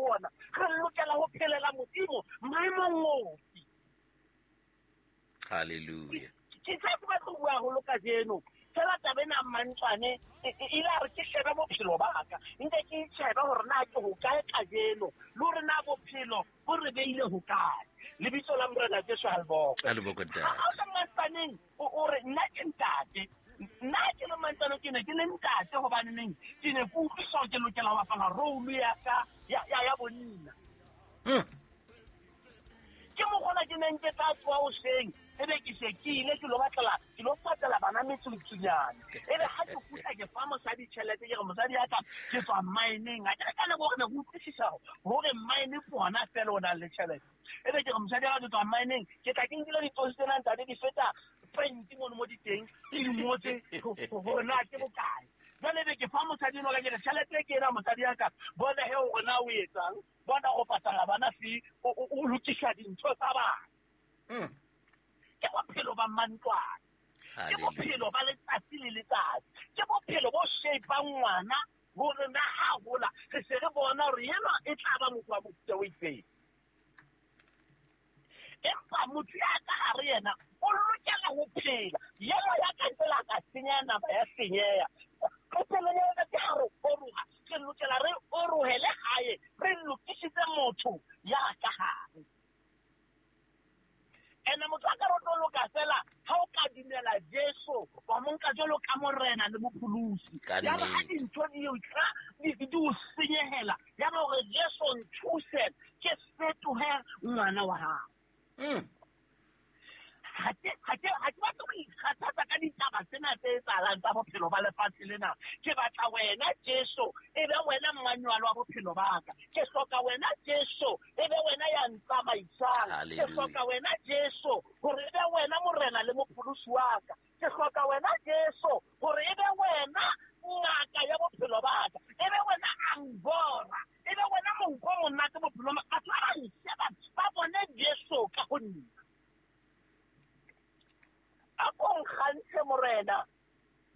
ona. Re lokela ho phelela Modimo maemong ofe. Hallelujah. Ke tla ke batla ho bua haholo kajeno. Fela taba ena Mmantswane e ile a re ke shebe bophelo ba ka. Nke ke itjhebe hore na ke hokae kajeno le hore na bophelo bo re beile hokae. Lebitso la Morena Jesu ha le bokwe. Ha le bokwe, ntate. Ha o le Mmantswaneng o re nna ke ntate. Nna ke le Mmantswane ke ne ke le ntate hobane neng ke ne ke utlwisisa hore ke lokela ho bapala role ya ka ya bonna. Ke mokgona ke neng ke tla tsoha hoseng, ebe ke se ke ile ke lo batlela, ke lo patela bana metsotsunyana. Ebe ha ke kgutla ke fa mosadi tjhelete, ke re mosadi ya ka ke tswa mmineng. Ha ke re ka nako hore ne ke utlwisisa hore mine ke hona feela o nang le tjhelete. Ebe ke re mosadi ya ka ke tswa mmineng, ke tla ke nkile ditsosi tsena ntate di feta 20 mono mo di teng, ke di ngotse hore na ke bokae. Jwale ebe ke fa mosadi enwa ka ke re tjhelete ke ena mosadi ya ka, bona he hore na o etsang. Bona go patala bana fee, o lokisa dintho tsa bana. Ke bophelo ba mantlwane. Ke bophelo ba letsatsi le letsatsi. Ke bophelo bo shapeang ngwana hore na ha hola re se re bona hore enwa e tla ba motho wa mofuta o itseng. Empa motho ya ka hare yena o lokela ho phela. Yena ya ka ntle la ka senya nama ya senyeha. Qetellong ya letsatsi ha re oroha, re lokela re orohele hae, re lokisitse motho ya ka hare. Ene motho a ka re tlo loka fela ha o ka dumela Jesu wa mo nka jwalo ka morena le mopholosi. Ka Ya ba ha nnete. dintho di o tla, di o senyehela, ya ba hore Jesu nthuse ke fetohe ngwana wa hao. Ha ke batle ho ikgathatsa ka ditaba tsena tse etsahalang tsa bophelo ba lefatshe lena. Ke batla wena Jesu e be wena mmanyualo wa bophelo ba ka. Ke hloka wena Jesu e be wena ya ntsamaisang. Ke Hallelujah. hloka wena Jesu hore e be wena morena le mopholosi wa ka. Ke hloka wena Jesu hore e be wena ngaka ya bophelo ba ka. E be wena angora. E be wena monko o monate bophelong ba ka. Batho ba ba nsheba ba bone Jesu ka ho nna. A ko nkgantshe morena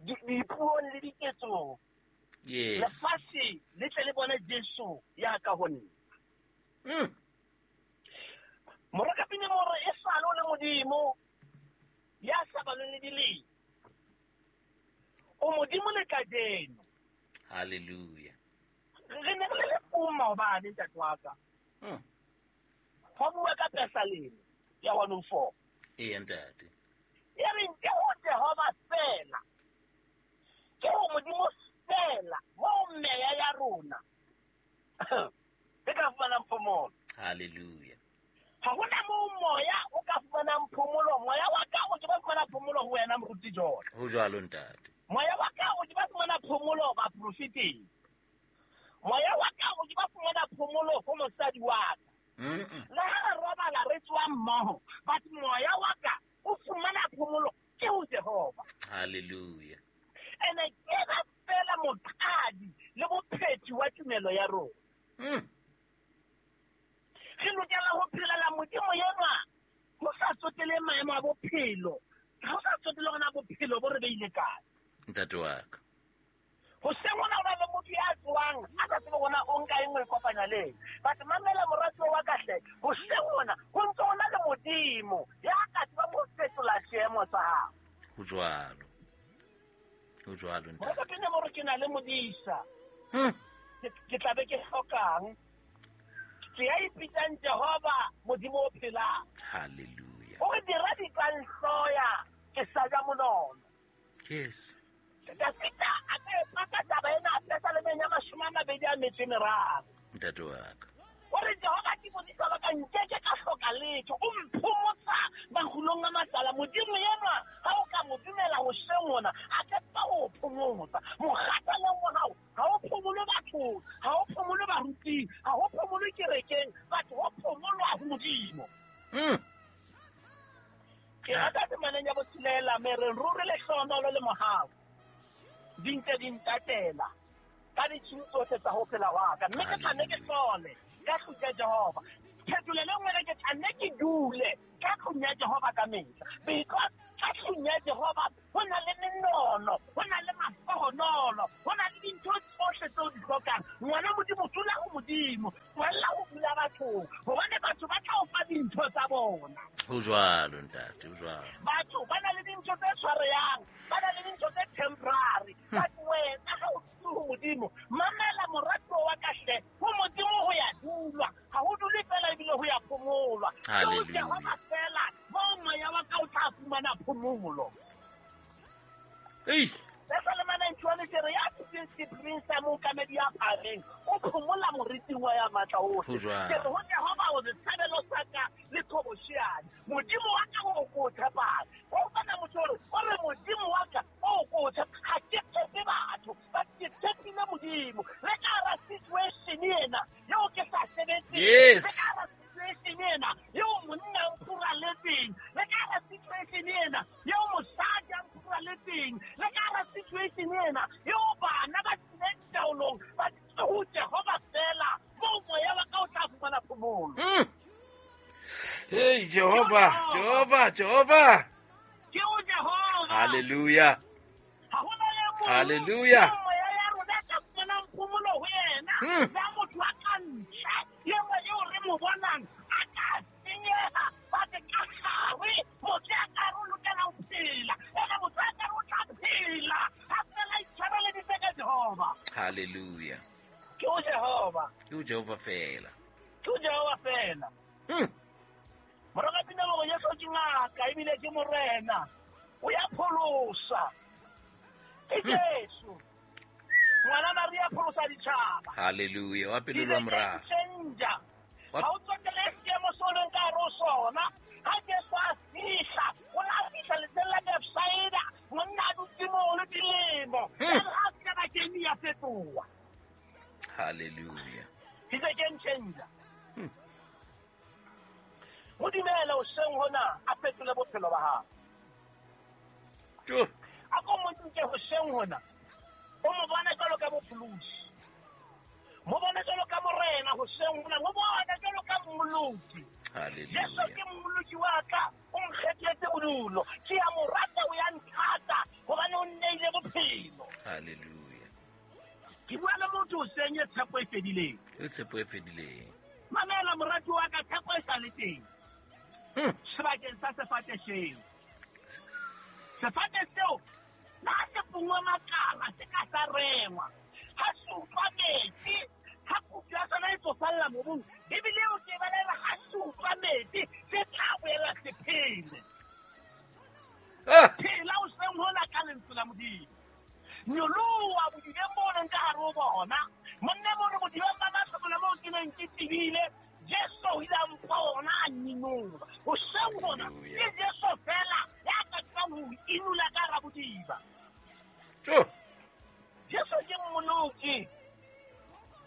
dipuong le diketsong. Yes. Lefatshe le tle le bone Jesu ya ka ho nna. Morokapine more e sale o le Modimo ya sa balweng le dilemo. O Modimo le kajeno. Hallelujah. Re ne re le lefung maobane, ntate wa ka. Ho bua ka Pesaleme ya 104. Ee, ntate. E reng ke ho Jehova fela. Ke ho Modimo fela moo meya ya rona e ka fumanang phomolo. Hallelujah. Ha hona moo moya o ka fumanang phomolo. Moya wa ka o ke ba fumana phomolo ho wena Moruti John. Ho jwalo ntate. Moya wa ka o ke ba fumana phomolo baprofeteng. Moya wa ka o ke ba fumana phomolo ho mosadi wa ka. Le ha re robala re tswa mmoho, but moya wa ka o fumana phomolo ke ho Jehova. Hallelujah. Ene ke ba fela moqadi le bophethi wa tumelo ya rona. Re lokela ho phelela Modimo enwa ho sa tsotele maemo a bophelo, ho sa tsotele hore na bophelo bo re beile kae. Ntate wa ka. Hoseng hona ho na le motho ya tswang a sa tsebe hore na o nka eng o e kopanya le eng. But mamela moratuwa wa ka hle, hoseng hona ho ntse ho na le Modimo ya ka tsebang ho fetola seemo sa hao. Ho jwalo. Ho jwalo, ntate. Moratuwa, ke ne mo re ke na le modisa. Ke tla be ke hlokang. Ke ya ipitsang Jehova Modimo o phelang. Hallelujah. O re dira di ka nhloya ke sa ja monono. Yes. Dafita a ka e paka taba ena Pesalemeng ya mashome a mabedi a metso e meraro. Ntate wa ka. O re Jehova ke modisa wa ka, nkeke ka hloka letho. O mphomotsa makgulong a matala. Modimo enwa ha o ka mo dumela hoseng hona, a ka tseba ho o phomotsa. Mokgathaleng wa hao ha o phomole bathong, ha o phomole baruting, ha o phomole kerekeng, batho ho phomolwa ho Modimo. Ke rata temaneng ya botshelela, me re ruri lehlohonolo le mohau di ntse di ntatela ka ditshiu tsohle tsa ho phela wa ka, mme ke tla nne ke hlole ka tlung ya Jehova. Phetolelo e nngwe re ke tla nne ke dule ka tlung ya Jehova ka mehla, because ka tlung ya Jehova ho na le menono, ho na le mahlohonolo, ho na le dintho tsohle tseo di hlokang. Ngwana Modimo, dula ho Modimo, tswella bathong, gobane batho ba tla o fa dintho tsa bona. Ho jwalo ntate, ho jwalo. Batho ba na le dintho tse tshwareyang, ba na le dintho tse temporary. But wena ha o dutse ho Modimo, mamela moratuwa wa ka hle, ho Modimo ho ya dulwa, ha ho dule fela ebile ho ya phomolwa. Ke ho Hallelujah. Jehova fela moo moya wa ka o tla fumana phomolo. Ei. Pesalema 91 ke re ya dutseng sephiring sa mookamedi ya phahameng, o phomola moriting wa ya matla ohle. Ho jwalo. Ke re ho Jehova o setshabelo sa ka le qhobosheane. Modimo wa ka o ko o tshepang. Wa utlwa motho o re, o re Modimo wa ka o ko o tshepa. Ha ke tshepe batho, but ke tshepile Modimo. Le ka hara situation ena eo ke sa sebetseng. Yes. Le ka hara situation ena eo monna a mphuraletseng. Le ka hara situation ena eo mosadi a mphuraletseng. Le ka hara situation ena eo bana ba tlileng taolong, ba tlile ho Jehova fela, moo moya wa ka o tla fumana phomolo. Hey, Jehova, Jehova, Jehova. Ke o Jehova. Hallelujah. Ha hona le mong Hallelujah. eo moya ya rona e ka fumanang phomolo ho yena. Ya motho a ka ntle, eo eo re mo bonang a ka senyeha, ba te ka gare, motho ya ka re o lokela ho phela. Ene motho ya ka re o tla phela, ha fela a itshwareleditse ka Jehova. Hallelujah. Ke o Jehova. Ke o Jehova fela. Ke o Jehova fela. Morena pina hore Jesu ke ngaka ebile ke morena. O ya pholosa. Ke Jesu. Ngwana Maria pholosa ditjhaba. Hallelujah. Wa pele le wa morao. Changer. Ha o tsotele seemo se o leng ka hare ho sona. Ha Jesu a fihla, o la fihla letsheng la Bethsaida, monna a dutse moo le dilemo. Jwale ha a fihla bakeng ya fetoha. Hallelujah. He's a game changer. Mo dumele hoseng hona a fetole bophelo ba hao. Jo. A ko mo nke hoseng hona. O mo bone jwalo ka mopholosi. Mo bone jwalo ka morena hoseng hona. Mo bone jwalo ka mmoloki. Hallelujah. Jesu ke mmoloki wa ka, o nkgethetse bodulo. Ke a mo rata, o ya nthata, hobane o nneile bophelo. Hallelujah. Ke bua le motho hoseng e tshepo e fedileng. E tshepo e fedileng. Mamela morati wa ka, tshepo e sa le teng. Sebakeng sa sefate seo. Sefate seo, le ha se pungwe makala, se ka sa rengwa. Ha se utlwa metsi, ha kutu ya sona e tsofalla mobung, ebile o ke balela ha se utlwa metsi, se tla boela se phele. Phela o seng hona ka lentswe la Modimo. Nyoloha bodibeng bo leng ka hare ho bona. Monna mo re bodibeng ba mahlomola moo ke neng ke tebile, Jesu o ile a mpha ona a ninola. Hoseng hona, ke Jesu fela ya ka tsebang ho inola ka hara bodiba. Jesu ke mmoloki.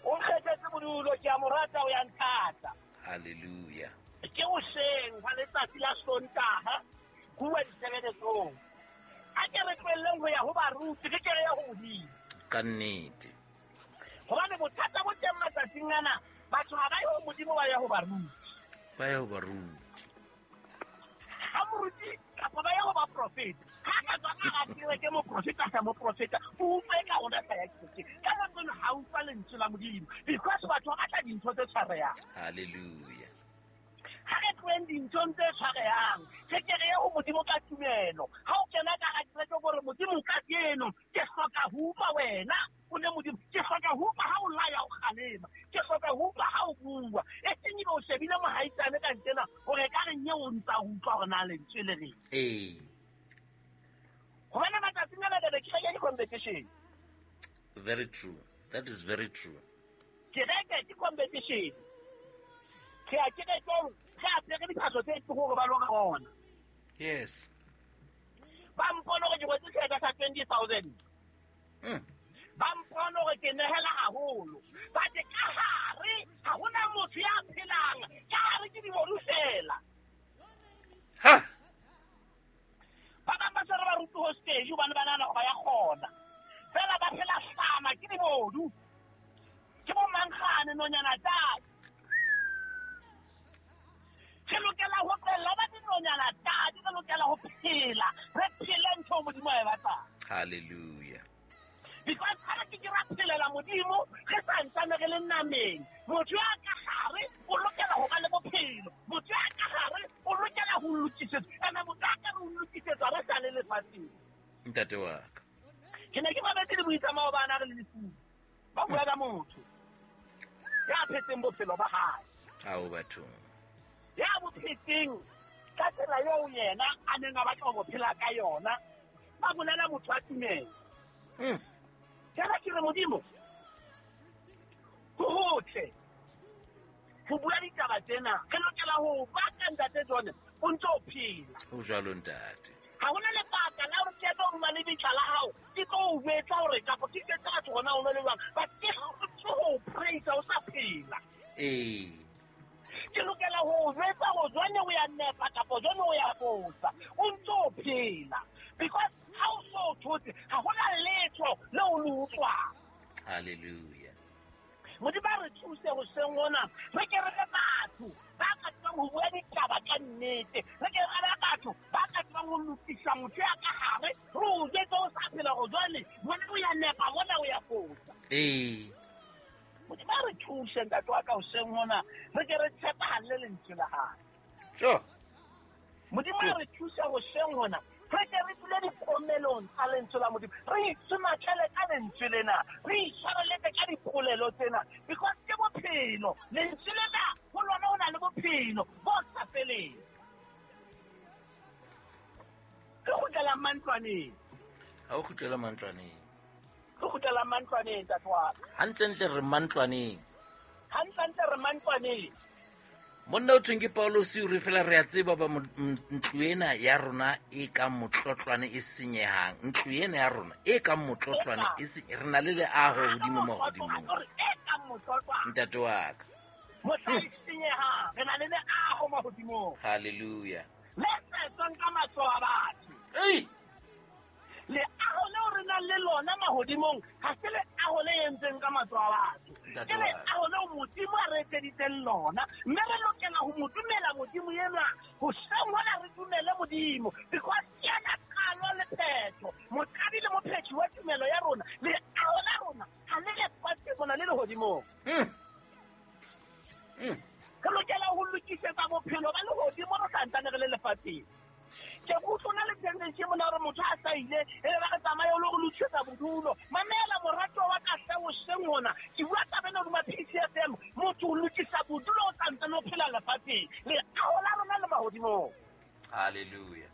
O nkgethetse bodulo, ke a mo rata, o ya nthata. Hallelujah. Ke hoseng hwa letsatsi la Sontaha, bua ditshebeletsong. A ke re tlohelleng ho ya ho baruti, re ke re ye ho Modimo. Ka nnete. Hobane bothata bo teng matsatsing ana, batho ha ba ye ho Modimo, ba ya ho baruti. Ba ya ho baruti. Ha moruti kapa ba ya ho baprofeta. Ha ka tswa ka hara kereke, moprofeta sa moprofeta, o utlwe ka ona sa ya kerekeng. Ka nako eno ha utlwa lentswe la Modimo, because batho ba batla dintho tse tshwarehang. Hallelujah. Ha re tloheng dinthong tse tshwarehang, re ke re ye ho Modimo ka tumelo. Ha o kena ka hara kereke o re, Modimo kajeno ke hloka ho utlwa wena, o le Modimo. Ke hloka ho utlwa ha o laya, o kgalema. Ke hloka ho utlwa ha o bua. E seng ebe o shebile mohaisane ka ntsena hore ka re nye o ntsa ho utlwa hore na lentswe le reng. Ee. Hobane matsatsing ana jwale kereke ke competition. Very true. That is very true. Kereke ke competition. Ke a kerekeng, re apere diphahlo tse tlo hore ba lo re bona. Yes. Ba mpone hore ke rwetse seeta sa 20,000. Ba mpone hore ke nehela haholo. But ka hare ha hona motho ya phelang. Ka hare ke dibodu fela. Ha. Ba bang ba se re ba rutu hostage hobane ba nahana hore ba ya kgona. Fela ba phela hlama ke dibodu. Ke bo mankgane nonyana tadi. Re lokela ho tlohella ba dinonyana tadi, re lokela ho phela. Re phele ntho Modimo a e batlang. Hallelujah. Because ha re ke ke ra phelela Modimo, re sa ntsane re le nameng. Motho ya ka hare o lokela Ntate wa ka. Ke ne ke mametse le buisa maobane a re le lefung. Ba bua ka motho ya phetseng bophelo ba hae. Ao bathong. Ya bo phetseng ka tsela eo yena a neng a batla ho bo phela ka yona. Ba bolela motho wa tumelo. Jwale ke re Modimo, ho hotle ho bua ditaba tsena. Re lokela ho baka ntate John, o ntse o phela. Ho jwalo ntate. Ha hona lebaka la hore ke eme hodima lebitla la hao, ke tlo o jwetsa hore kapa ke jwetse batho hore na o nwe le jwang. But ke hlotse ho o praise o sa phela. Ee. Ke lokela ho o jwetsa hore jwale o ya nepa kapa jwale o ya fosa. O ntse o phela. Because ha o so o thotse, ha hona letho leo o le utlwang. Hallelujah. Modimo a re thuse hoseng hona, re ke re be batho ba ka tsebang ho bua ditaba ka nnete. Re ke re be batho ba ka tsebang ho lokisa motho ya ka hare, re o jwetse o sa phela hore jwale mona o ya nepa, mona o ya fosa. Ee. Modimo a re thuse ntate wa ka hoseng hona, re ke re tshepahalle lentswe la hae. Sure. Modimo a re thuse hoseng hona, re ke re dule dikomelong tsa lentswe la Modimo, re itsomatlele ka lentswe lena, re itshwareletse ka dipolelo tsena, because ke bophelo. Lentswe lena ho lona ho na le bophelo bo sa feleng. Re kgutlela mantlwaneng. Ha o kgutlela mantlwaneng. Re kgutlela mantlwaneng, ntate wa ka. Hantlentle re mantlwaneng. Hantlentle re mantlwaneng. Monna o thweng ke Paulosi o re fela re a tseba ba ntlo ena ya rona e kang motlotlwane e senyehang. Ntlo ena ya rona e kang motlotlwane e re na le leaho hodimo mahodimong. Ntate wa ka. Mohla e senyehang, re na le leaho mahodimong. Hallelujah. Le setswang ka matsoho a batho. Ei! Leaho leo re nang le lona mahodimong ha se leaho le entseng ka matsoho a batho. Ntate Ke wa ka. leaho leo Modimo a re etseditseng lona, mme re lokela ho mo dumela Modimo enwa. Hoseng hona re dumele Modimo, because ke yena qalo le phetho, moqadi le mophethi wa tumelo ya rona. Leaho la rona ha le lefatsheng mona, le lehodimong. Re lokela ho lokisetsa bophelo ba lehodimo re santsane re le lefatsheng. Ke utlwa na le tendency mona hore motho a sa ile, e be ba re tsamaye o lo re lokisetsa bodulo. Mamela morato wa ka hle hoseng hona. Ke bua taba ena hodima PCFM. Motho o lokisa bodulo o santsane o phela lefatsheng. Leaho la rona le mahodimong. Hallelujah.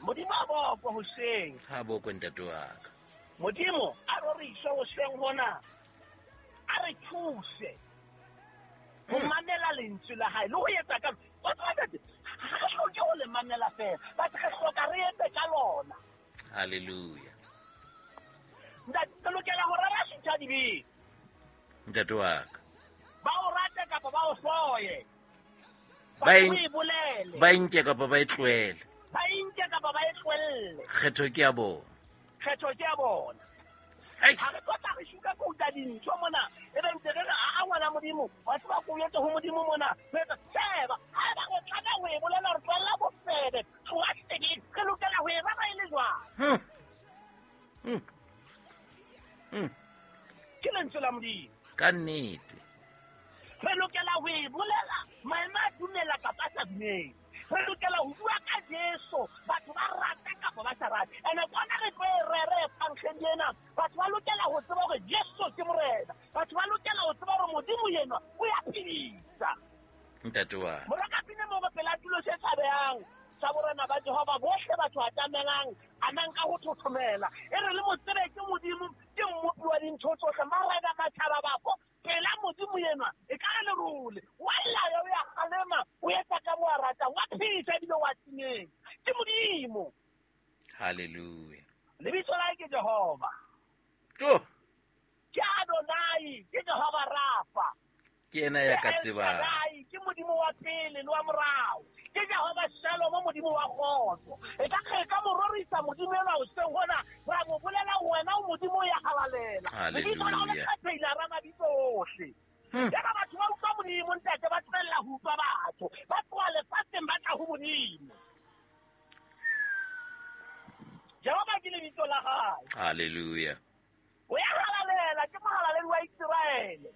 Modimo a bokwe hoseng. Ha bokwe ntate wa ka. Modimo a roriswe hoseng hona. A re thuse ho mamela lentswe la hae le ho etsa ka o tseba ntate, ha re hloke ho le mamela fela, but re hloka re etse ka lona. Hallelujah. Ntate, re lokela ho rera sutha dibeng. Ntate wa ka. Ba o rate kapa ba o hloye. Ba Ba o e bolele. Ba e nke kapa ba e tlohele. Ba e nke kapa ba e tlohelle. Kgetho ke ya bona. Kgetho ke ya bona. Ei. Ha re tlotla re shuka kouta dintho mona, e be ntse re re, a ngwana Modimo, wa tseba ko o etse ho Modimo mona. Re etsa, sheba, ha eba re tlameha ho e bolela hore tlohella bofebe, tloha sebeng, re lokela ho e rera e le jwang? Ke lentswe la Modimo. Ka nnete. Re lokela ho e bolela, maemo a dumela kapa a sa dumele. Re lokela ho bua ka Jesu, batho ba rate kapa ba sa rate. Ene kwana re tlo e rere evangelii ena. Batho ba lokela ho tseba hore Jesu ke Morena. Batho ba lokela ho tseba hore Modimo enwa o ya phedisa. Ntate wa. Morakapine mo re pela tulo se tshabehang sa borena ba Jehova, bohle batho atamelang, a nang ka ho thothomela. E re le mo tsebe ke Modimo, ke mmopi wa dintho tsohle, marena matjhaba bafo, pela Modimo enwa, e ka re lerole. Wa laya, o ya kgalema, o etsa ka mo a ratang, wa phedisa ebile wa timetsa. Ke Modimo. Hallelujah. Lebitso la hae ke Jehova. Jo. Ke Adonai, ke Jehova Rafa. Ke yena ya ka Ke El tsebang. Shaddai, ke Modimo wa pele le wa morao. Ke Jehova Shalom, Modimo wa kgotso. E ka re ka mo rorisa Modimo enwa hoseng hona, ra mo bolela wena o Modimo ya halalela. Hallelujah. Lebitso la hao le kgethehile hara mabitso ohle. Yaba batho ba utlwa Modimo, ntate, ba tlohella ho utlwa batho. Ba tloha lefatsheng ba tla ho Modimo. Jehova ke lebitso la hae. Hallelujah. O ya halalela, ke mohalaledi wa Iseraele.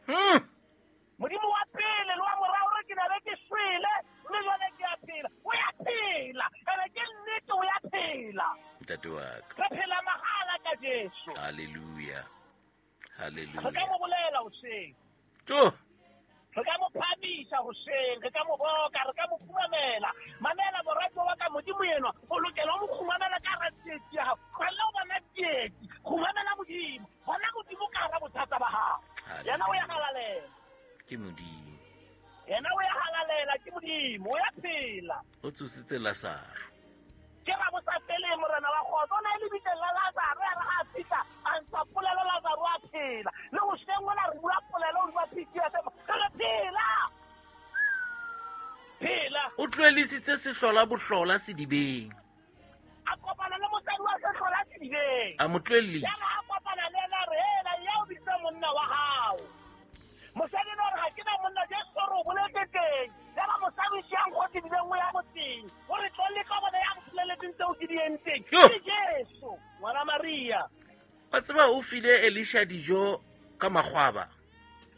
Modimo wa pele le wa morao re ke na be ke shwele, mme jwale ke a phela. O ya phela, ene ke nnete o ya phela. Ntate wa ka. Re phela mahala Jesu. Hallelujah. Hallelujah. Re ka mo bolela hoseng. Jo. Re ka mo phamisa hoseng, re ka mo boka, re ka mo khumamela. Mamela borato wa ka Modimo enwa, o lokela ho mo khumamela ka hara tsietsi ya hao. Tlohella ho bona tsietsi, khumamela Modimo. Bona Modimo ka hara bothata ba hao. Yena o ya halalela. Ke Modimo. Yena o ya halalela, ke Modimo, o ya phela. O tsositse Lazaro. Ke ra bosafele morena wa kgotso, o na e lebitleng la Lazaro, ya re ha a fihla, a ntsha polelo Lazaro a phela. Le hoseng ona re bua polelo hodima PTSM, re re phela. Phela. O tlohelisitse sehlola bohlola sedibeng. A kopana le mosadi wa sehlola sedibeng. A mo tlohellisa. Yaba a kopana le yena a re, hela, ya o bitsa monna wa hao. Mosadi ena o re, ha ke na monna, Jesu o re o boletse teng. Yaba mosadi o siang go sedibeng o ya motseng. O re, tlo le tlo bona ya mpoleletseng tseo ke di entseng. Yo. Ke Jesu, ngwana Maria. Wa tseba o file Elisha dijo ka makgwaba.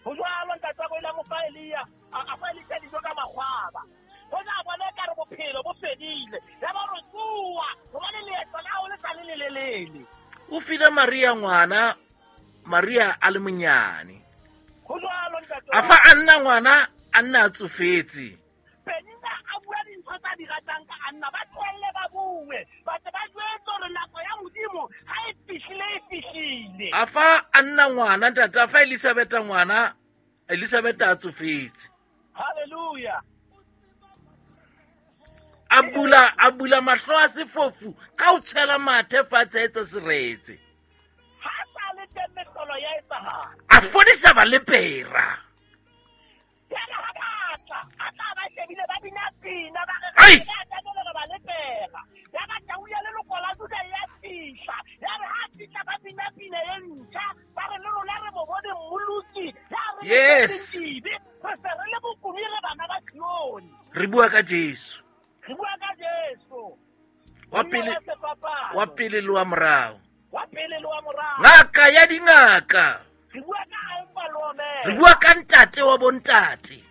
Ho jwalo, ntate wa ka o ile a mo fa Elia, a fa Elisha dijo ka makgwaba. Ho tla bona ekare bophelo bo fedile. Yaba o re, tsoha, hobane leeto la hao le sa le lelelele. O file Maria ngwana, Maria a le monyane. Ho jwalo, ntate A wa fa Anna ngwana, Anna a tsofetse. Penina a bua dintho tsa di ratang ka Anna, ba tlohelle ba bue. Ba tle ba jwetse hore nako ya Modimo ha e fihlile, e fihlile. A fa Anna ngwana, ntate, a fa Elisabetha ngwana, Elisabetha a tsofetse. Hallelujah. A bula mahlo a sefofu ka ho tshwela mathe fatshe a etsa seretse. Ha sa le teng mehlolo ya etsahala. A fodisa balepera. Jwale ha ba tla, a tla ba shebile ba bina pina, ba re, Ai! Re tla tlamehile re ba lepera. Ya ba tau ya leloko la Juda ya fihla. Ya re ha fihla ba bina pina e ntjha, ba re le rona re mo bone mmoloki. Ya re le Yes. dibe, re se re le bokumi re bana ba Sione. Re bua ka Jesu. Re bua ka Jesu. Wa pele, Monna wa sefapano. wa pele le wa morao. Wa pele le wa morao. Ngaka ya dingaka. Re bua ka Alfa le Omega. Re bua ka ntate wa bontate.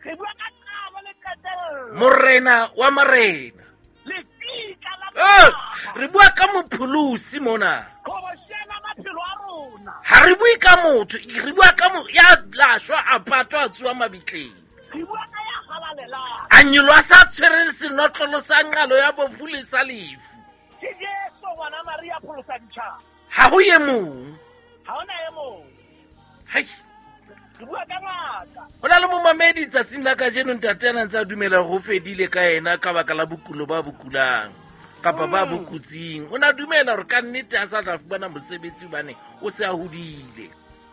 Re bua ka qalo le qetello. Morena wa marena. Lefika la Oh, matjhaba. re bua ka mopholosi mona. Qhobosheana maphelo a rona. Ha re bue ka motho, re bua ka ya lashwa a patwa a tsoha mabitleng. Re bua ka ya halalelang. A nyoloha sa tshwereng senotlolo sa nqalo ya bofu le sa lefu. Ke Jesu ngwana Maria pholosa ditjhaba. Ha ho e mong. Ha hona e mong. Hai. Re bua ka ngaka. Ho na le momamedi tsatsing la kajeno ntate a na ntse a dumela hore ho fedile ka yena ka baka la bokulo ba bokulang kapa ba bokutsing. O na dumela hore ka nnete a sa tla fumana mosebetsi hobane o se a hodile.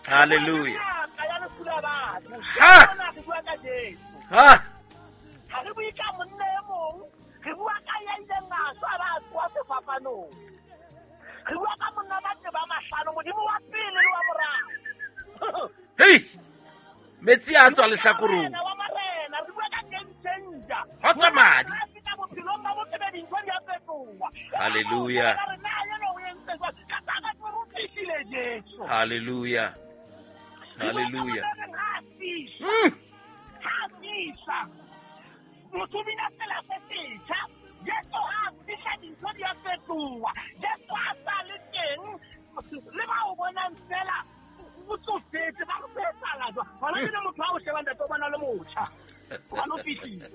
Hallelujah. Ngaka ya lefu la batho. Ha! Rona re bua ka Jesu. Ha! Ha re bue ka monna e mong, re bua ka ya ileng a shwa ba tsoha sefapanong. Re bua ka monna ba tseba mahlano, Modimo wa pele le wa morao. Hei! Metsi a tswa lehlakoreng. Morena wa marena, re bua ka game changer. Ho tswa madi. Ha fihla bophelong ba botho be dintho di a fetoha. Hallelujah. Ka re, na eno o entse jwang? Ka tla ka tlo re fihlile Jesu. Hallelujah. Hallelujah. Re bua ka monna ha fihla. Ha fihla. Motho o bina tsela se setjha. Jesu ha fihla dintho di a fetoha. Jesu ha sa le teng, le ba o bonang fela, o tsofetse, ba re ho etsahala jwang? Hona jwale motho ha o sheba ntate o bona le motjha. Hobane o fihlile.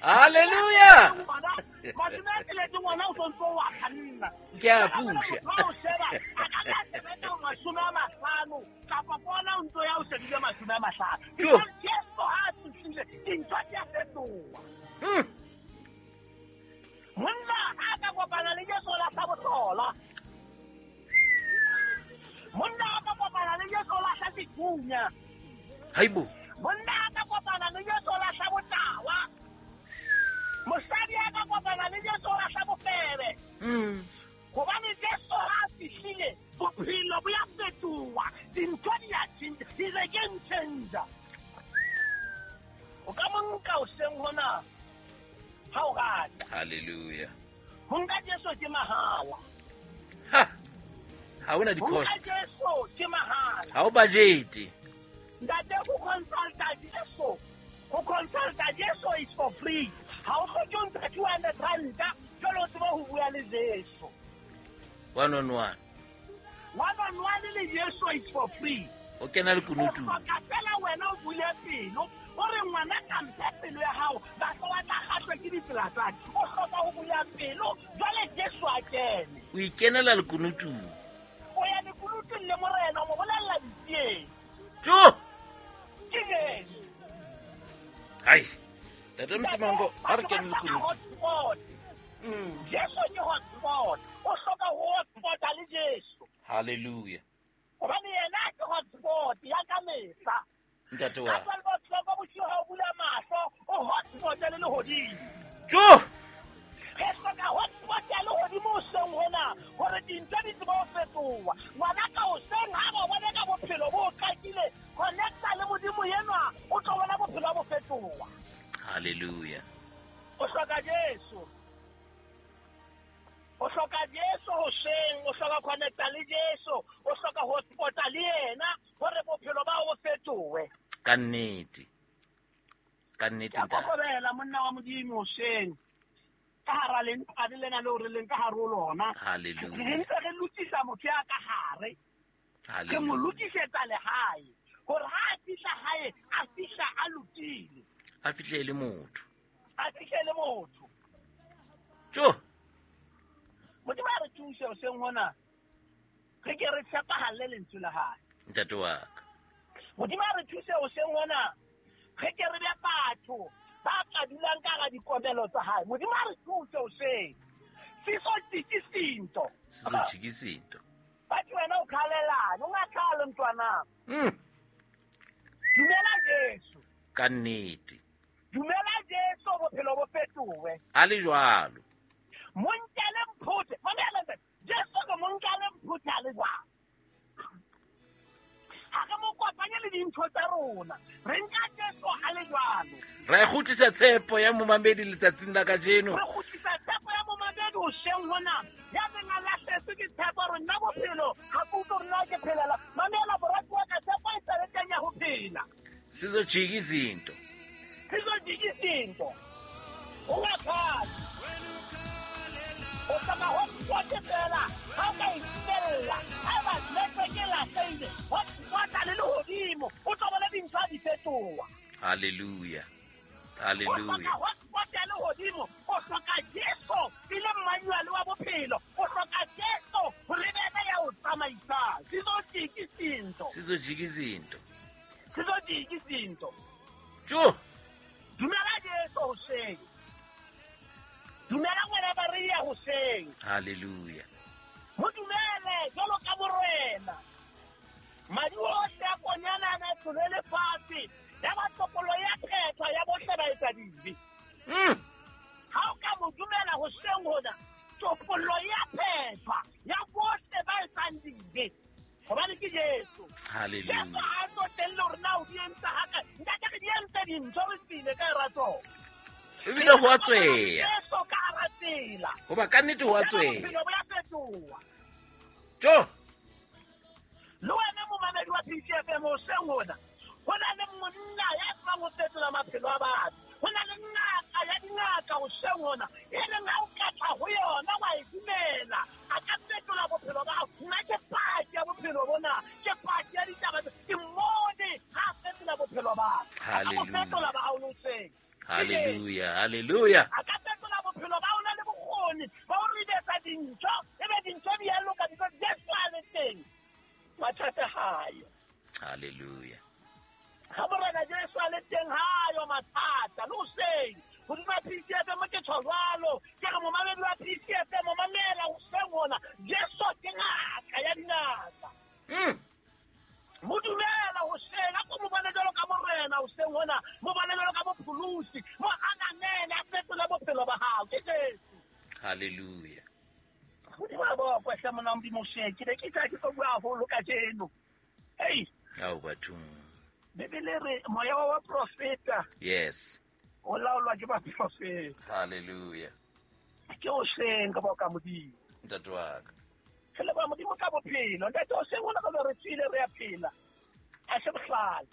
Hallelujah. Ngwana, mashome a tsheletse ngwana o sontso o a kganna. Ke a pusha. Motho ha o sheba, a ka tla sebetsa 50 kapa bona o ntso ya o shebile 50. Jo. Jesu ha a fihlile, dintho di a fetoha. Monna ha ka kopana le Jesu o lahla bohlola. Monna ha ka kopana le Jesu o lahla sethunya. Haibo. Monna ha ka kopana le Jesu o lahla botawa. Mosadi ha ka kopana le Jesu o lahla bofebe. Hobane Jesu ha a fihlile, bophelo bo ya fetoha. Dintho di a tjhentjha. He's a game changer. O ka mo nka hoseng hona ha o rata. Hallelujah. Ho nka Jesu ke mahala. Ha. Ha hona Ho nka di-cost. Jesu ke mahala. Ha o budget. Ntate, ho consulta Jesu. Ho consulta Jesu is for free. Ha o hloke ho ntsha 200 ranta, jwale o tsebe ho bua le Jesu. One on one. One on one le Jesu is for free. O kena lekunutung. O hloka fela wena o bule pelo, o re ngwana ka mphe pelo ya hao, batho ba tla kgahlwa ke ditsela tsa ka. O hloka ho bula pelo, jwale Jesu a kene. O ikenela lekunutung. O ya lekunutung le Morena, o mo bolella ditsietsi. Jo! Ke Jesu. Hai. Ntate Msimango, ha re kene lekunutung. Jesu ke hotspot. O hloka ho hotspota le Jesu. Hallelujah. Hobane yena ke hotspot ya ka mehla. Ntate wa. Ka 12 o'clock bosiu ha o bula mahlo, o hotspot le lehodimo. Jo! Re hloka hotspot ya lehodimo hoseng hona, hore dintho di tsebe ho fetoha. Ngwana ka hoseng ha ba bone ka bophelo bo qakile, connecta le Modimo enwa, o tlo bona bophelo bo fetoha. Hallelujah. O hloka Jesu. O hloka Jesu hoseng, o hloka connecta le Jesu, o hloka hotspota le yena hore bophelo ba bo fetohe. Ka nnete. Ka nnete Ke a ntate. kokobela monna wa Modimo hoseng. Ka hara lentswe lena leo re leng ka hare ho lona. Hallelujah. Re ntse re lokisa motho ya ka hare. Re mo Hallelujah. lokisetsa lehae hore ha a fihla hae, a fihla a lokile. A fihle e le motho. A fihle e le motho. Jo! Modimo a re thuse hoseng hona. Re ke re tshepahalle lentswe la hae. Ntate wa ka. Modimo a re thuse hoseng hona. Re ke re be batho ba ka dulang ka hara dikomelo tsa hae. Modimo a re thuse hoseng. Siso tjiki sinto. Siso tjiki sinto. Bathi wena o khalelane, o ngakhali mntwanami. Dumela Jesu. Ka nnete. Dumela Jesu bophelo bo fetohe. A le jwalo. Monkele mphuthe. Mamela ntate. Jesu ke monkele mphuthe a le jwalo. Ha re mo kopanye le dintho tsa rona. Re nka Jesu a le jwalo. Re kgutlisa tshepo ya momamedi letsatsing la kajeno. Re kgutlisa tshepo ya momamedi hoseng hona. Ya neng a lahletswe ke tshepo hore nna bophelo ha ke utlwe hore na ke phelela. Mamela moratuwa ka tshepo e sale teng ya ho phela. Sizojika izinto. Sizojika izinto. Ungakhali. O hloka hotspot fela. Ha o ka e fihlella, haeba network e lahlehile, hotspot le lehodimo, o tlo bona dintho ha di fetoha. Hallelujah. O Hallelujah. hloka hotspot ya lehodimo, o hloka Jesu e le manual wa bophelo, o hloka Jesu hore ebe yena ya o tsamaisang. Sizojika izinto. Sizojika izinto. Sizojika izinto. Jo! Dumela Jesu hoseng. Dumela ngwana Maria hoseng. Hallelujah. Mo dumele jwalo ka morena. Madi ohle a konyana a na tsholwe lefatshe. Ya ba topollo ya phethwa ya bohle ba etsa dibe. Ha o ka mo dumela hoseng hona, topollo ya phethwa ya bohle ba etsang dibe. Hobane ke Jesu. Hallelujah. Jesu ha a tsotelle hore na o di entse ha kae. Ntate re di entse dintho re tswile ka e ratong. Ebile ho a tsweya. Jesu ka hara tsela. Hoba ka nnete ho a tsweya. Bophelo bo ya fetoha. Jo! Le wena momamedi wa PCFM hoseng hona, ho na le monna ya tsebang ho fetola maphelo a batho. Ho na le ngaka ya dingaka hoseng hona, e leng ha o ka tla ho yona wa e dumela, a ka fetola bophelo ba hao. Nna ke paki ya bophelo bona, ke paki ya ditaba tse. Ke mmone ha a fetola bophelo ba ka. A ka bo Hallelujah. fetola ba hao le hoseng. Hallelujah, hallelujah. A ka fetola bophelo ba hao le bokgoni ba ho ribetsa dintho, ebe dintho di a loka because Jesu a le teng. Mathata hayo. Hallelujah. Ha Morena Jesu a le teng hayo mathata. Le hoseng, hodima PCFM ke tjho jwalo. Ke re momamedi wa PCFM, mamela hoseng hona. Jesu ke ngaka ya dingaka. Mo dumela hoseng, a ko mo bone jwalo ka Morena hoseng hona. Mo bone jwalo ka mopholosi. Mo ananele, a fetole bophelo ba hao. Ke Jesu. Hallelujah. Hodima bokwe hle monna Modimo hoseng. Ke ne ke tla ke tlo bua haholo kajeno. Hei. Ao bathong. Bibele re moya wa baprofeta. Yes. O laolwa ke baprofeta. Hallelujah. Ke hoseng ka boka Modimo. Ntate wa ka. Re leboha Modimo ka bophelo. Ntate hoseng hona ka re tswile re a phela. Ha se bohlale.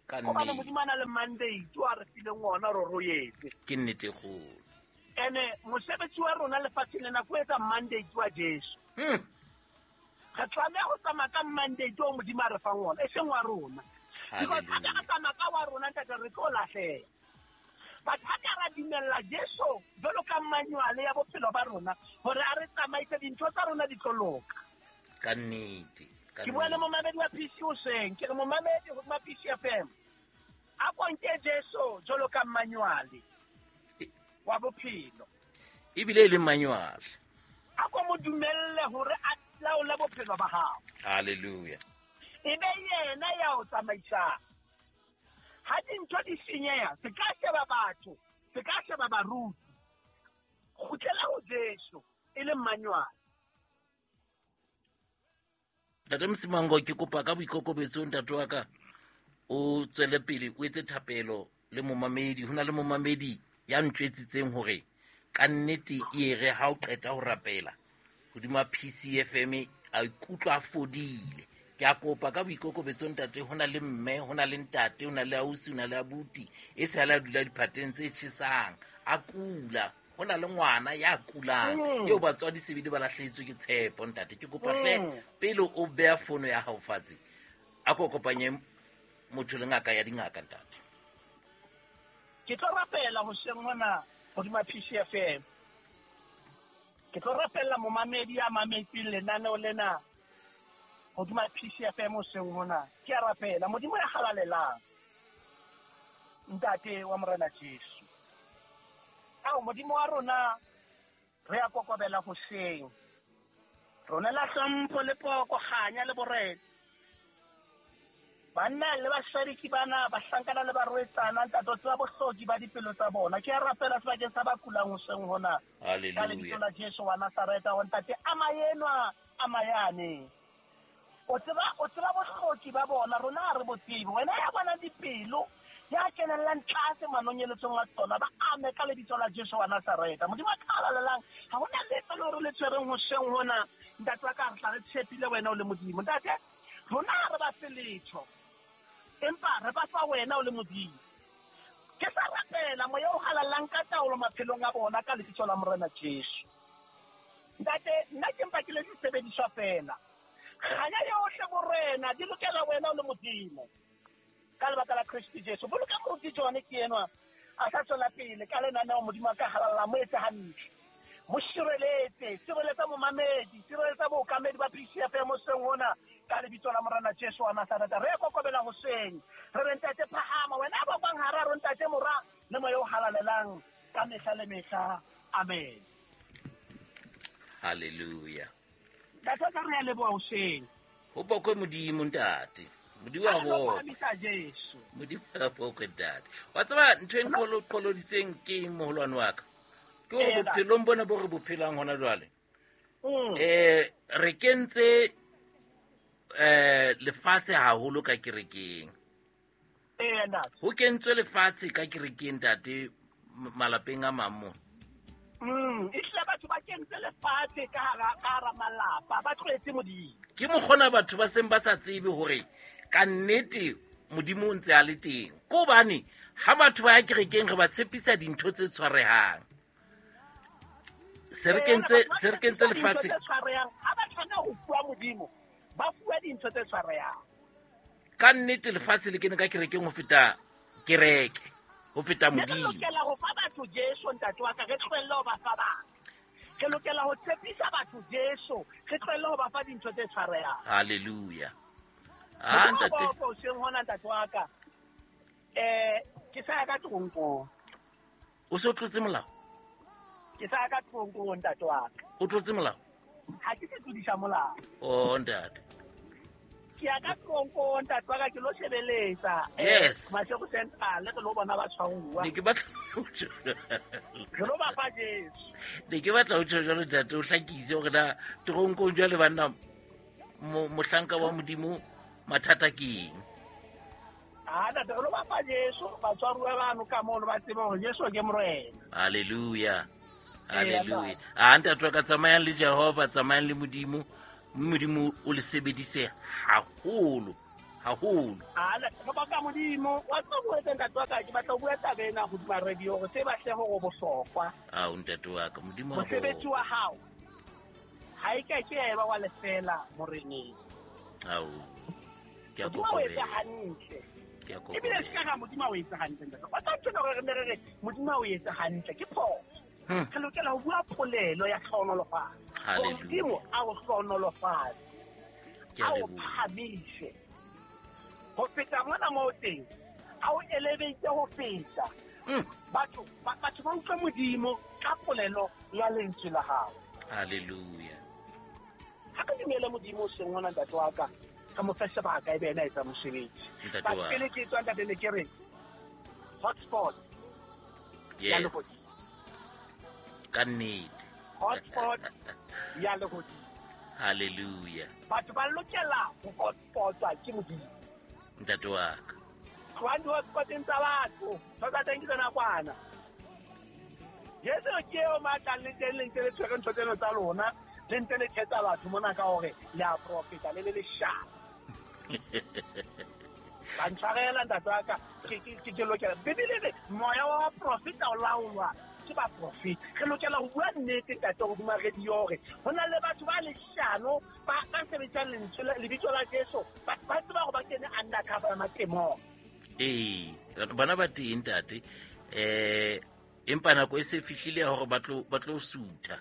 Ka Hobane nnete. Modimo a na le mandate o a re fileng ona hore re o etse. Ke nnete e kgolo. Ene mosebetsi wa rona lefatsheng lena ke ho etsa mandate wa Jesu. Re tlameha ho tsamaya ka mandate o Modimo a re fang ona, e seng wa rona. Because ha ka re tsamaya ka wa rona, ntate, re tlo lahleha. But ha ka ra dumella Jesu jwalo ka manual ya bophelo ba rona hore a re tsamaise, dintho tsa rona di tlo loka. Ka nnete. Ke bua le momamedi wa PC hoseng, ke re momamedi hodima PC FM, a ko nke Jesu jwalo ka manual wa bophelo. Ebile e le manual. A ko mo dumelle hore a laole bophelo ba hao. Hallelujah. E be yena ya o tsamaisang. Ha dintho di senyeha, se ka sheba batho, se ka sheba baruti. Kgutlela ho Jesu e le manual. Ntate Msimango, ke kopa ka boikokobetso ntate wa ka o tswele pele o etse thapelo le momamedi. Ho na le momamedi ya ntjwetsitseng hore ka nnete e re ha o qeta ho rapela hodima PCFM a ikutlwa a fodile. Ke a kopa ka boikokobetso ntate, ho na le mme, ho na le ntate, ho na le ausi, ho na le abuti e se a dula diphateng tse tjhesang, a kula. Ho na le ngwana ya kulang eo batswadi sebele ba lahlehetswe ke tshepo. Ntate, ke kopa hle pele o beha fono ya hao fatshe, a ko kopanye motho le ngaka ya dingaka ntate. Ke tlo rapela hoseng hona hodima PCFM. Ke tlo rapella momamedi ya mametseng lenaneo lena hodima PCFM hoseng hona. Ke a rapela Modimo ya halalelang, Ntate wa Morena Jesu. Ao Modimo wa rona, re a kokobela hoseng. Rona la hlompho le poko, kganya le borena. Banna le basadi ke bana, bahlankana le barwetsana, ntate o tseba bohloki ba dipelo tsa bona. Ke a rapela sebakeng sa ba kulang hoseng hona. Hallelujah. Ka lebitso la Jesu wa Nazareta, ho ntate ama enwa, ama yane. O tseba bohloki ba bona, rona ha re bo tsebe. Wena ya bonang dipelo, ya kenellang tlase manonyeletsong a tsona, ba ame ka lebitso la Jesu wa Nazareta. Modimo a halalelang, ha hona letho le hore le tshwereng hoseng hona. Ntate wa ka, re tla re tshepile wena o le Modimo. Ntate, rona ha re ba fe letho, empa re ba fa wena o le Modimo. Ke sa rapela moya o halalelang ka taolo maphelong a bona ka lebitso la Morena Jesu. Ntate, nna ke mpa ke le disebediswa fela. Kganya yohle borena di lokela wena o le Modimo. Ka lebaka la Kriste Jesu. Boloka moruti John ke enwa a sa tswela pele ka lenaneo. Modimo a ka halalla, mo etse hantle, mo sireletse, sireletsa momamedi, sireletsa bookamedi ba PCFM hoseng hona ka lebitso la Morena Jesu wa Nazareta. Re kokobela hoseng, re re ntate phahama, wena ba bang hara rona, ntate mora le moya o halalelang ka mehla le mehla. Amen. Hallelujah. Ntate ka re a leboha hoseng. Ho bokwe Modimo ntate. Modimo a bokwe. Modimo a bokwe ntate. Wa tseba ntho e nqoloditseng ke eng moholwane wa ka? Ke hore bophelong bona bo re bo phelang hona jwale. Re kentse lefatshe haholo ka kerekeng. Ho kentswe lefatshe ka kerekeng ntate, malapeng a mang mo. Ehlile batho ba kentse lefatshe ka hara malapa, ba tlohetse Modimo. Ke mokgona batho ba seng ba sa tsebe hore ka nnete Modimo o ntse a le teng. Ke hobane ha batho ba ya kerekeng re ba tshepisa dintho tse tshwarehang. Se re kentse lefatshe. Ha ba tshwana ho fuwa Modimo, ba fuwa dintho tse tshwarehang. Ka nnete lefatshe le kene ka kerekeng ho feta kereke, ho feta Modimo. Re lokela ho fa batho Jesu ntate wa ka, re tlohelle ho ba fa batho. Re lokela ho tshepisa batho Jesu, re tlohelle ho ba fa dintho tse tshwarehang. Hallelujah. Ah ntate. Hoseng hona ntate wa ka. Ke sa ya ka toronkong. O se o tlotse molao? Ke sa ya ka toronkong ntate wa ka. O tlotse molao? Ha ke se tlodisa molao. Oh ntate. Ke ya ka toronkong ntate wa ka, ke lo shebeletsa. Yes. Mashego Central re lo bona ba tshwaruwa. Ne ke batla ho tjho. Re lo ba fa Jesu. Ne ke batla ho tjho jwalo ntate, o hlakise hore na toronkong jwale banna mohlanka wa Modimo mathata ke eng? Ah, ntate, re lo ba fa Jesu, batswaruwa bano ka mono ba tsebe hore Jesu ke Morena. Hallelujah. Hallelujah. Ah, ntate wa ka, tsamayang le Jehova, tsamayang le Modimo. Modimo o le sebedise haholo, haholo. Ah, re baka Modimo. Wa tseba ho etsa ntate wa ka, ke batla ho bua taba ena hodima radio hore tseba hle hore o bohlokwa. Ah, ntate wa ka, Modimo wa Mosebetsi wa hao. Ha e ka ke ya eba wa lefela moreneng. Ao, ke a Modimo a o etse kokobela. hantle. Ke a Ebile se ka kokobela. ra Modimo a o etse hantle, ntate. O tla ntho gore re ne re re Modimo a o etse hantle ke phoso. Re lokela ho bua polelo ya tlhohonolofatso. Hore Hallelujah. Modimo a o hlohonolofatse. Ke a A o leboha. phahamise. Ho feta mona moo teng, a o elevate ho feta. Batho batho ba utlwe Modimo ka polelo ya lentswe la hao. Hallelujah. Ha re dumele Modimo o seng hona, ntate wa ka, re mo fe sebaka ebe yena a etsa mosebetsi. Ntate But wa ka. pele ke tswa, ntate, ne ke re hotspot ya Yes. lehodimo. Ka nnete. Hotspot ya lehodimo. Hallelujah. Batho ba lokela ho hotspotwa ke Modimo. Ntate wa ka. Tlohang di-hotspoteng tsa batho. Ntho tsa teng ke tsa nakwana. Jesu ke eo matlang le teng, le ntse le tshwere ntho tseno tsa lona, le ntse le thetsa batho mona ka hore le a profeta, le le leshano. Ba ntshwarela, ntate wa ka, ke lokela. Bibele e re, moya wa baprofeta o laolwa ke baprofeta. Re lokela ho bua nnete, ntate, hodima radio hore ho na le batho ba leshano, ba sebedisang lentswe lebitso la Jesu, ba tseba hore ba kene undercover ya matemong. Ee, bana ba teng, ntate. Empa nako e se fihlile ya hore ba tlo sutha.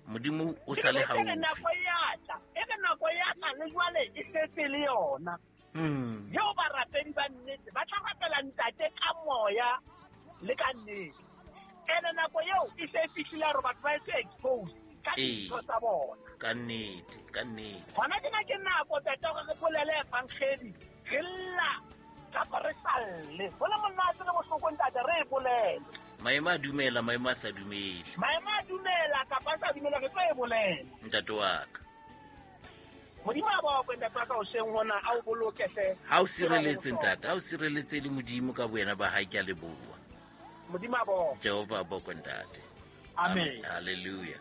Modimo o sa le Ebile e re haufi. nako e a tla, e re nako e a tla, le jwale e setse le yona. Eo barapedi ba nnete ba tla rapela ntate ka moya le ka nnete. Ene nako eo e se e fihlile ya hore batho ba etse expose ka dintho tsa bona. Ka nnete, ka nnete. Hona tjena ke nako, ntate, hore re bolele evangeli, re lla kapa re sa lle. Ho le monate le bohloko, ntate, re e bolele. Maemo a dumela, maemo a sa dumele. Maemo a dumela kapa a sa dumela, re tlo e bolela. Ntate wa ka. Modimo a bokwe, ntate wa ka, hoseng hona, a o boloke hle. Ha o sireletse, ntate, ha o sireletse le Modimo ka boyena ba hae, ke a leboha. Modimo a bokwe. Jehova a bokwe, ntate. Amen. Hallelujah.